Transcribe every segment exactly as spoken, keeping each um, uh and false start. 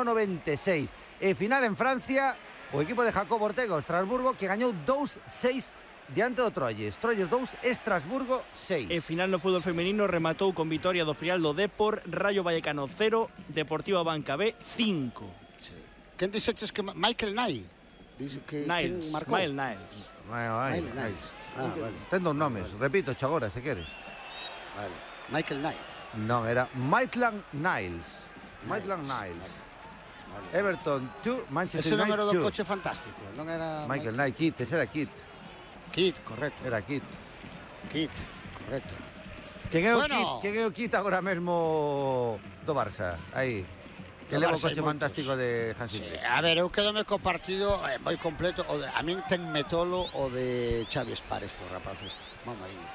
noventa e seis. E final en Francia, o equipo de Jacob Ortega, o Estrasburgo, que gañou dous seis diante do Troyes. Troyes dous, Estrasburgo seis. E final no fútbol femenino rematou con vitoria do Frial do Depor, Rayo Vallecano cero, Deportiva Banca B cinco. Sí. Quen dixeches que Michael Knight? Dice que Niles, Michael Niles. Michael Niles. Ah, vale. Ten dos nomes, vale. Repito, agora, se queres. Vale. Michael Knight. Non, era Maitland Niles. Maitland Niles. Vale. Everton dos, Manchester Ese non era United do dos. coche fantástico, non era Michael Knight, Kit, ese era Kit. Kit, correcto. Era Kit. Kit, correcto. Quen é o Bueno. Kit? Quen é o Kit agora mesmo do Barça? Aí. Que leva o coche fantástico de Hansi Flick. Sí, a ver, eu quedome co partido eh, moi completo. O de, a min ten metolo o de Xavi Espar, este rapaz este. Mamma mía.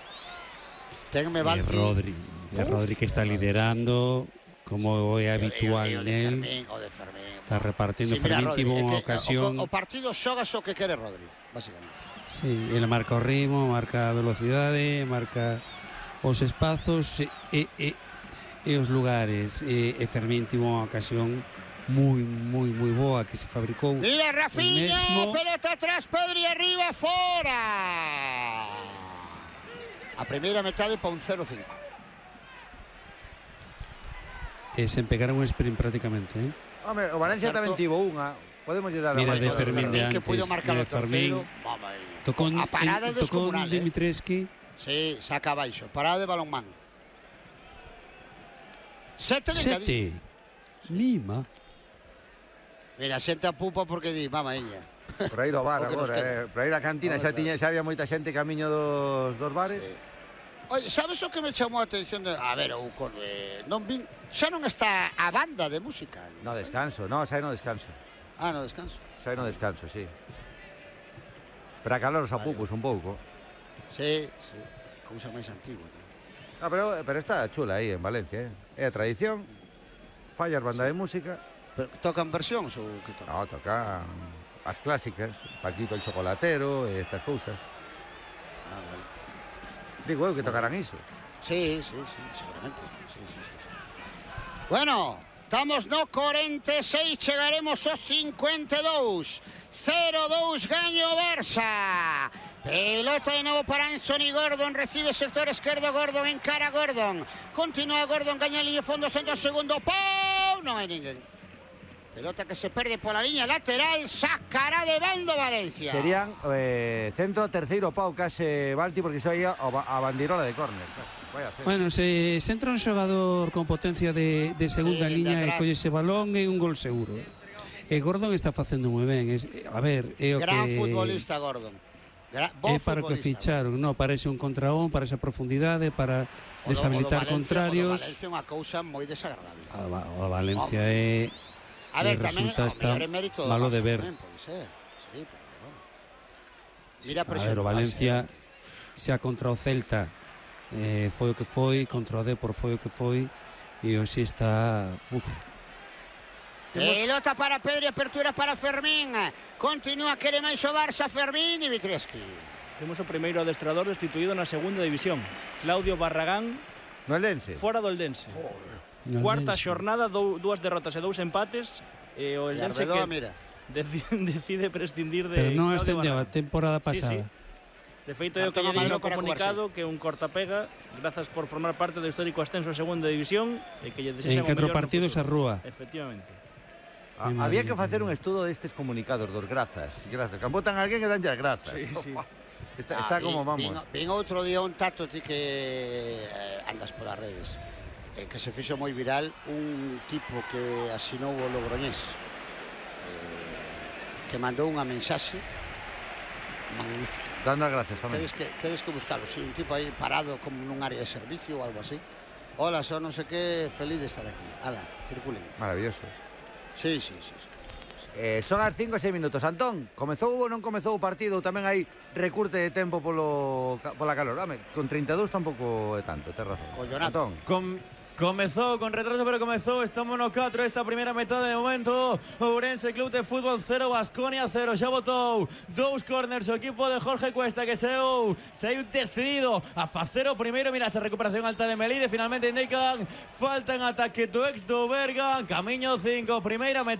Tenme E Rodri, e Rodri que está liderando, como é habitual o de nel. Fermín, o de Fermín. Está repartindo. Sí, mira, Fermín tivo Rodri, unha é que ocasión. O, o partido xogas o que quere Rodri, básicamente. Sí, ele marca o ritmo, marca a velocidade, marca os espazos e, e, e os lugares. E, e Fermín tivo unha ocasión moi, moi, moi boa que se fabricou. Mira, Rafinha, mesmo... pelota atrás, Pedri arriba, fora. A primeira metade pa un cero cinco. E sen pegar un sprint prácticamente, eh? Home, o Valencia tamén tivo unha. Podemos lle dar Mira, a de Fermín de que antes, puido marcar de o terceiro. Fermín. Tocó A parada en, tocó descomunal, eh. Dimitrescu. Sí, saca abaixo. Parada de balonmán. Sete de Sete. Mima. Mira, xente a pupa porque di, mamá ella. Por aí no bar agora, eh. Por aí na cantina xa, tiña, xa había moita xente camiño dos, dos bares. Sí. Oye, sabes o que me chamou a atención? De, a ver, o con, eh, non vin, xa non está a banda de música. No descanso, no, xa no descanso. Ah, no descanso. Xa no descanso, sí. Para calar os apupos un pouco. Sí, sí. Cousa máis antigua. ¿No? No, pero, pero está chula aí en Valencia, eh. É a tradición. Fallas banda de música. Pero tocan versións ou que tocan? No, tocan as clásicas, Paquito el Chocolatero e estas cousas. Ah, vale. Digo eu que tocarán iso. Sí, sí, sí, seguramente. Sí, sí, sí, sí. Bueno, estamos no cuarenta e seis, chegaremos aos cincuenta e dous. cero dous gaño Barça. Pelota de novo para Anthony Gordon, recibe sector esquerdo Gordon, encara Gordon. Continúa Gordon, gaña a línea fondo, centro segundo, ¡pau! Non hai ninguén. Pelota que se perde pola liña lateral, sacará de bando Valencia. Serían eh, centro, terceiro pau case Balti, porque iso aí a, a bandirola de córner. Vaya centro. Bueno, se, se entra un xogador con potencia de, de segunda Sí, liña de e colle ese balón é un gol seguro. E Gordon está facendo moi ben. Es, a ver, é o Gran que... futbolista Gordon. Gra É para o que ficharon, no, para ese un contra un, para esa profundidade, para deshabilitar o do Valencia, contrarios. O do Valencia é unha cousa moi desagradable. A, a Valencia é... A ver, tamén resulta o está mellor é mérito do malo Barça de ver. tamén, pode ser. Sí, pero bueno. Mira, A ver, o Valencia xa contra o Celta eh, foi o que foi, contra o Depor foi o que foi, e hoxe está... Uf. Pelota para Pedri, apertura para Fermín. Continúa, quere máis o Barça, Fermín e Dimitrescu. Temos o primeiro adestrador destituído na segunda división, Claudio Barragán, no Eldense. fora do Eldense. No Cuarta Eldense. xornada, dou, dúas derrotas e dous empates, e o E Eldense Arbeloa, que mira. decide, decide prescindir de Pero non Claudio ascendeu a Barragán. temporada Sí, pasada. sí. De feito, é o que Cartón lle digo amarelo no para comunicado, que é un cortapega, grazas por formar parte do histórico ascenso a segunda división, e que lle desexan En o catro mellor no partidos a futuro. rúa. Efectivamente. A, había que facer un estudo destes comunicados dos grazas. Grazas. Cando botan a alguén e danlle as grazas. Sí, sí. Está, Ah, está vin, como vamos. Vin, vin outro día un tato ti que eh, andas polas redes, eh, que se fixo moi viral un tipo que asinou o Logroñés, eh, que mandou unha mensaxe magnífica. Dando as grazas tamén. Tedes que, tedes que buscarlo, si, un tipo aí parado como nun área de servicio ou algo así. Hola, son non sei que, feliz de estar aquí. Ala, circulen. Maravilloso. Sí, sí, sí, sí. Eh, son as cinco e seis minutos. Antón, comezou ou non comezou o partido? Tamén hai recurte de tempo polo, pola calor. Home, con treinta e dous tampouco é tanto, tes razón. Collonato. Antón. Com Comezou con retraso, pero comezou. Estamos no catro esta primeira metade de momento. Ourense Club de Fútbol cero, Baskonia cero. Xa botou dous corners o equipo de Jorge Cuesta, que saiu saiu decidido a facer o primeiro. Mira esa recuperación alta de Melide. Finalmente indican falta en ataque do ex do Berga. Camiño cinco, primeira metade.